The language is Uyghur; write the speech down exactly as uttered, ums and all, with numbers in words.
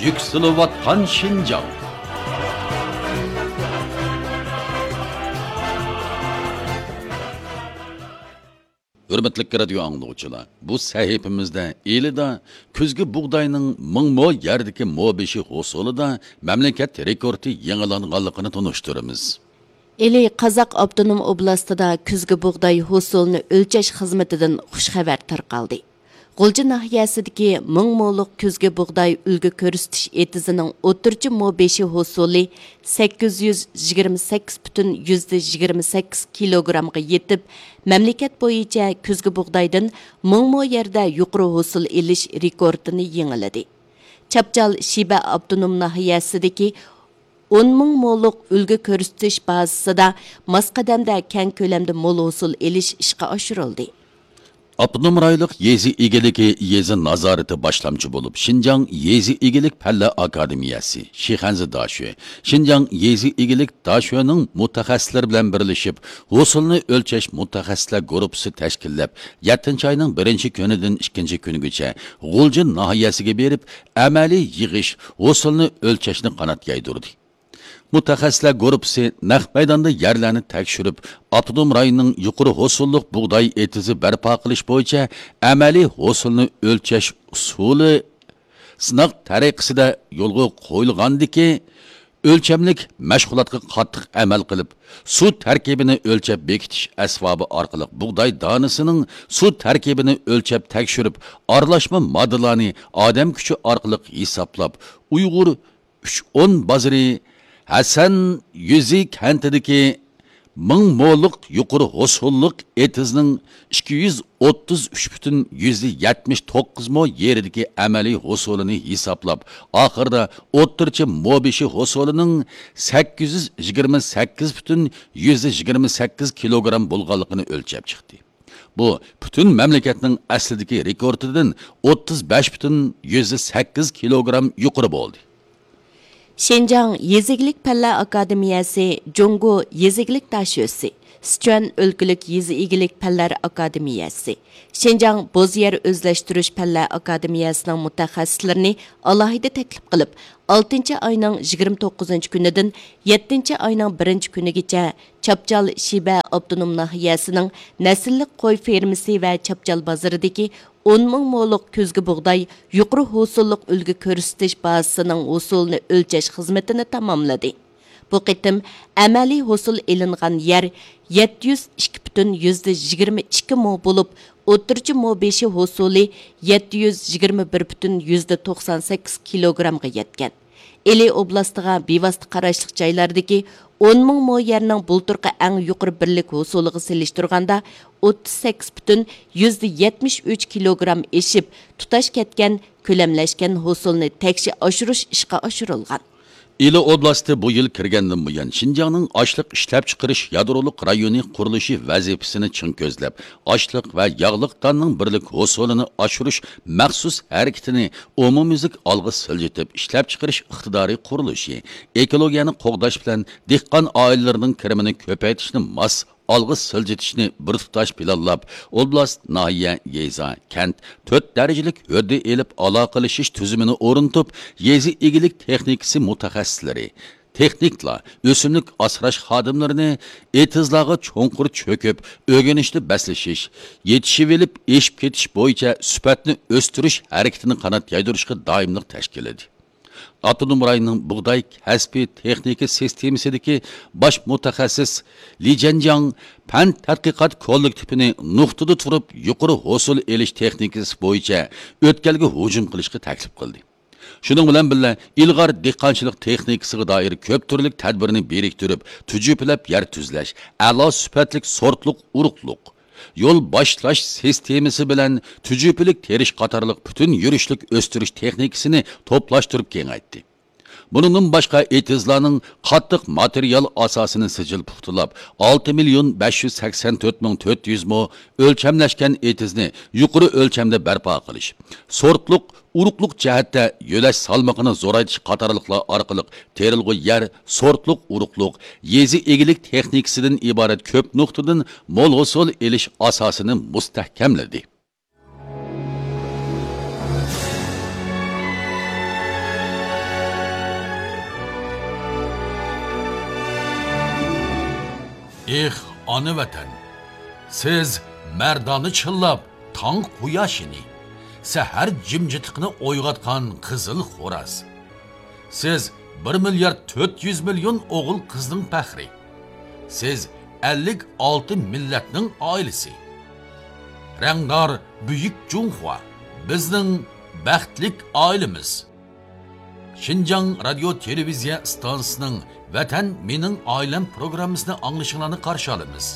يۈكسىلىۋاتقان شىنجاڭ. ھۆرمەتلىك رادىيو ئاڭلىغۇچىلار، بۇ سەھىپىمىزدە ئىلىدا كۈزگى بۇغداينىڭ مىڭ مو يەردىكى مو بېشى ھوسۇلىدا مەملىكەت رېكورتى يېڭىلانغانلىقىنى تونۇشتۇرىمىز. ئىلى قازاق ئاپتونوم ئوبلاستىدا كۈزگى بۇغداي ھوسۇلىنى ئۆلچەش خىزمىتىدىن خۇش خەۋەر تارقالدى. غۇلجا ناھىيەسىدىكى مىڭ مولۇق كۈزگى بۇغداي ئۈلگە كۆرسىتىش ئېتىزىنىڭ ئوتتۇرىچە مو بېشى ھوسۇلى سەككىز يۈز يىگىرمە سەككىز پۈتۈن يۈزدە يىگىرمە سەككىز كىلوگرامغا يېتىپ، مەملىكەت بويىچە كۈزگى بۇغدايدىن مىڭ مو يەردە يۇقىرى ھوسۇل ئېلىش رېكورتىنى يېڭىلىدى. چاپچال شىبە ئاپتونوم ناھىيەسىدىكى ئون مىڭ مولۇق ئۈلگە كۆرسىتىش بازىسىدا ماس قەدەمدە كەڭ كۆلەمدە مول ھوسۇل ئېلىش ئىشقا ئاشۇرۇلدى. ئاپتونوم رايونلۇق يېزا ئىگىلىكى يېزا نازارىتى باشلامچى بولۇپ، شىنجاڭ يېزا ئىگىلىك پەنلەر ئاكادېمىيەسى، شىخەنزە داشۆ، شىنجاڭ يېزا ئىگىلىك داشۆنىڭ مۇتەخەسسىسلىرى بىلەن بىرلىشىپ، ھوسۇلنى ئۆلچەش مۇتەخەسسىسلەر گۇرۇپپىسى تەشكىللەپ، يەتتىنچى ئاينىڭ بىرىنچى كۈنىدىن ئىككىنچى كۈنىگىچە غۇلجا ناھىيەسىگە بېرىپ، ئەمەلىي يىغىش، ھوسۇلنى ئۆلچەشنى قانات يايدۇردى. مۇتەخەسسىسلەر گۇرۇپپىسى نەق مەيداندا يەرلەرنى تەكشۈرۈپ، ئاپتونوم رايوننىڭ يۇقىرى ھوسۇللۇق بۇغداي ئېتىزى بەرپا قىلىش بويىچە ئەمەلىي ھوسۇلنى ئۆلچەش ئۇسۇلى سىناق تەرىقىسىدە يولغا قويۇلغاندىكى ئۆلچەملىك مەشغۇلاتقا قاتتىق ئەمەل قىلىپ، سۇ تەركىبىنى ئۆلچەپ بېكىتىش ئەسۋابى ئارقىلىق بۇغداي دانىسىنىڭ سۇ تەركىبىنى ئۆلچەپ تەكشۈرۈپ، ئارىلاشما ماددىلارنى ئادەم كۈچى ئارقىلىق ھېسابلاپ، ئۇيغۇر ئۈچ ئون بازىرى ھەسەن يۈزى كەنتىدىكى مىڭ مولۇق يۇقىرى ھوسۇللۇق ئېتىزنىڭ ئىككى يۈز ئوتتۇز ئۈچ پۈتۈن يۈزدە يەتمىش توققۇز مو يېرىدىكى ئەمەلىي ھوسۇلىنى ھېسابلاپ، ئاخىرىدا ئوتتۇرىچە مو بېشى ھوسۇلىنىڭ سەككىز يۈز يىگىرمە سەككىز پۈتۈن يۈزدە يىگىرمە سەككىز كىلوگرام بولغانلىقىنى ئۆلچەپ چىقتى. بۇ پۈتۈن مەملىكەتنىڭ ئەسلىدىكى رېكورتىدىن ئوتتۇز بەش پۈتۈن يۈزدە سەككىز كىلوگرام يۇقىرى بولدى. شىنجاڭ يېزا ئىگىلىك پەنلەر ئاكادېمىيەسى، جۇڭگو يېزا ئىگىلىك داشۆسى، سىچۈەن ئۆلكىلىك يېزا ئىگىلىك پەنلەر ئاكادېمىيەسى، شىنجاڭ بوز يەر ئۆزلەشتۈرۈش پەنلەر ئاكادېمىيەسىنىڭ مۇتەخەسسىسلىرىنى ئالاھىدە تەكلىپ قىلىپ، ئالتىنچى ئاينىڭ يىگىرمە توققۇزىنچى كۈنىدىن يەتتىنچى ئاينىڭ بىرىنچى كۈنىگىچە چاپچال شىبە ئاپتونوم ناھىيەسىنىڭ نەسىللىك قوي فېرمىسى ۋە چاپچال بازىرىدىكى ئون مىڭ مولۇق كۈزگى بۇغداي يۇقىرى ھوسۇللۇق ئۈلگە كۆرسىتىش بازىسىنىڭ ھوسۇلىنى ئۆلچەش خىزمىتىنى تاماملىدى. بۇ قېتىم ئەمەلىي ھوسۇل ئېلىنغان يەر يەتتە يۈز ئىككى پۈتۈن يۈزدە يىگىرمە ئىككى مو بولۇپ، ئوتتۇرىچە مو بېشى ھوسۇلى يەتتە يۈز يىگىرمە بىر پۈتۈن يۈزدە توقسان سەككىز كىلوگرامغا يەتكەن. ئىلى ئوبلاستىغا بىۋاسىتە قاراشلىق جايلاردىكى ئون مىڭ مو يەرنىڭ بۇلتۇرقى ئەڭ يۇقىرى بىرلىك ھوسۇلىغا سېلىشتۇرغاندا، ئوتتۇز سەككىز پۈتۈن يۈزدە يەتمىش ئۈچ كىلوگرام ئېشىپ، تۇتاش كەتكەن، كۆلەملەشكەن ھوسۇلنى تەكشى ئاشۇرۇش ئىشقا ئاشۇرۇلغان. ئىلى ئوبلاستى بۇ يىل كىرگەندىن بۇيان، شىنجاڭنىڭ ئاشلىق ئىشلەپچىقىرىش يادرولۇق رايونى قۇرۇلۇشى ۋەزىپىسىنى چىڭ كۆزلەپ، ئاشلىق ۋە ياغلىق داننىڭ بىرلىك ھوسۇلىنى ئاشۇرۇش مەخسۇس ھەرىكىتىنى ئومۇميۈزلۈك ئالغا سىلجىتىپ، ئىشلەپچىقىرىش ئىقتىدارى قۇرۇلۇشى، ئېكولوگىيەنى قوغداش بىلەن دېھقان ئائىلىلىرىنىڭ كىرىمىنى كۆپەيتىشنى ماس ئالغا سىلجىتىشنى بىر تۇتاش پىلانلاپ، ئوبلاست، ناھىيە، يېزا، كەنت تۆت دەرىجىلىك ھۆددە ئېلىپ ئالاقىلىشىش تۈزۈمىنى ئورنىتىپ، يېزا ئىگىلىك تېخنىكىسى مۇتەخەسسىسلىرى، تېخنىكلار، ئۆسۈملۈك ئاسراش خادىملىرىنى ئېتىزلارغا چوڭقۇر چۆكۈپ، ئۆگىنىشتە بەسلىشىش، يېتىشىۋېلىپ ئېشىپ كېتىش بويىچە سۈپەتنى ئۆستۈرۈش ھەرىكىتىنى قانات يايدۇرۇشقا دائىملىق تەشكىللىدى. ئاپتونوم رايوننىڭ بۇغداي كەسپىي تېخنىكا سىستېمىسىدىكى باش مۇتەخەسسىس لى جيەنجياڭ پەن تەتقىقات كوللېكتىپىنى نۇقتىدا تۇرۇپ يۇقىرى ھوسۇل ئېلىش تېخنىكىسى بويىچە ئۆتكەلگە ھۇجۇم قىلىشقا تەكلىپ قىلدى. شۇنىڭ بىلەن بىللە، ئىلغار دېھقانچىلىق تېخنىكىسىغا دائىر كۆپ تۈرلۈك تەدبىرنى بىرىكتۈرۈپ، تۈجۈپىلەپ يەر تۈزلەش، ئەلا سۈپەتلىك سورتلۇق ئۇرۇقلۇق، يول باشلاش سىستېمىسى بىلەن تۈجۈپىلىك تېرىش قاتارلىق پۈتۈن يۈرۈشلۈك ئۆستۈرۈش تېخنىكىسىنى توپلاشتۇرۇپ كېڭەيتتى. بۇنىڭدىن باشقا، ئېتىزلارنىڭ قاتتىق ماتېرىيال ئاساسىنى سىجىل پۇختىلاپ، ئالتە مىليون بەش يۈز سەكسەن تۆت مىڭ تۆت يۈز مو ئۆلچەملەشكەن ئېتىزنى يۇقىرى ئۆلچەمدە بەرپا قىلىش، سورتلۇق ئۇرۇقلۇق جەھەتتە يۆلەش سالمىقىنى زورايتىش قاتارلىقلار ئارقىلىق تېرىلغۇ يەر، سورتلۇق ئۇرۇقلۇق، يېزا ئىگىلىك تېخنىكىسىدىن ئىبارەت كۆپ نۇقتىدىن مول ھوسۇل ئېلىش ئاساسىنى مۇستەھكەملىدى. ئېھ، ئانا ۋەتەن! سىز مەردانە چىللاپ تاڭ قۇياشىنى، سەھەر جىمجىتلىقىنى ئويغاتقان قىزىل خوراز. سىز بىر مىليارد تۆت يۈز مىليون ئوغۇل قىزنىڭ پەخرى. سىز ئەللىك ئالتە مىللەتنىڭ ئائىلىسى. رەڭدار بۈيۈك جۇڭخۇا، بىزنىڭ بەختلىك ئائىلىمىز. شىنجاڭ رادىيو تېلېۋىزىيە ئىستانسىسىنىڭ ۋەتەن مېنىڭ ئائىلەم پروگراممىسىنى ئاڭلىشىڭلارنى قارشى ئالىمىز.